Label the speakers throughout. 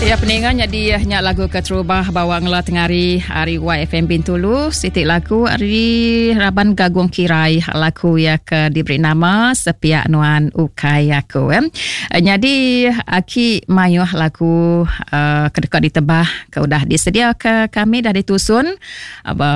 Speaker 1: Ya peninga nyadi nya lagu keterubah bawa ngela tengari ari YFM Bintulu siti lagu ari raban Gagung Kirai lagu ya ke diberi nama Sepiak Nuan Ukai Aku eh. Nyadi aki mayuh lagu uh, ke deka ditebah ke udah disediaka kami dah ditusun Aba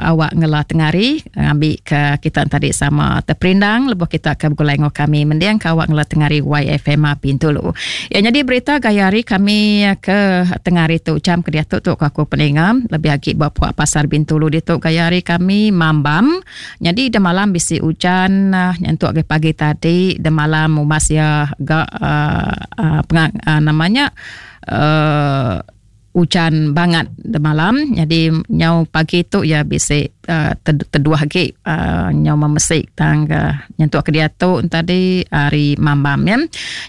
Speaker 1: awak ngela tengari ngambi ke kita tadi sama terperindang lebuh kita ke begulai enggau kami mending ke awak ngela tengari YFM Bintulu. Ya nyadi berita gaya hari kami ke tengari tu jam ke diatu tu aku peninga lebih agi ba puak pasar Bintulu ditu gaya hari kami mambam. Nyadi de malam bisi ujan nyentuk ke pagi tadi de malam umas ya ga uh, uh, pengang, uh, namanya uh, ujan bangat demalam nyadi nyau pagi tu iya bisi uh, teduh agi uh, nyau memesik tang uh, nyentuk ke diatu tadi hari mambam ya.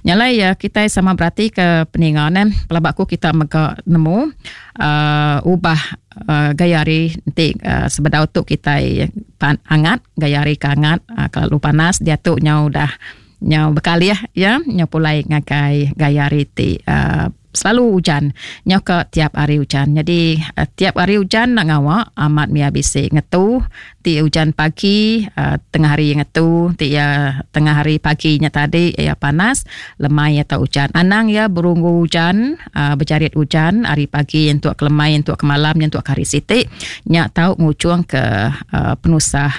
Speaker 1: Nyalai ya kitai sama berati ke peninga ne pelaba aku kita mega nemu uh, ubah uh, gaya hari enti uh, sebedau tu kitai pan, angat gaya hari ke angat uh, kelalu panas diatu nyau udah nyau bekalih ya nyau pulai ngagai gaya hari ti uh, Selalu ujan. Nyau ka tiap hari ujan. Nyadi eh, tiap hari ujan nak ngawa amat mia bisi ngetu. Ti ujan pagi eh, tengah hari ngetu, ti ya tengah hari pagi nya tadi ya panas, lemai ya tau ujan. Anang ya berunggu ujan, eh, berjarit ujan hari pagi entuk ke lemai entuk ke malam nyentuk ke hari siti nya tau ngujung ke penusah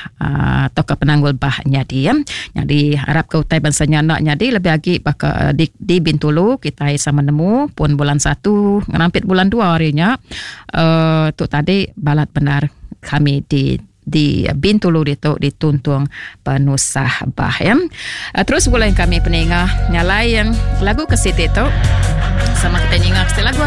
Speaker 1: atau ke penanggul bah nyadi ya. Nyadi harap ke utai bansa nya enda nyadi lebih agi baka di, di Bintulu kitai sama nemu pun bulan 1 ngerampit bulan 2 hari nya uh, tu tadi balat benar kami di di Bintulu ditu dituntung penusah bah ya. Uh, terus bulan kami peninga nyalai yang lagu ke siti tu sama kita ninga ke lagu.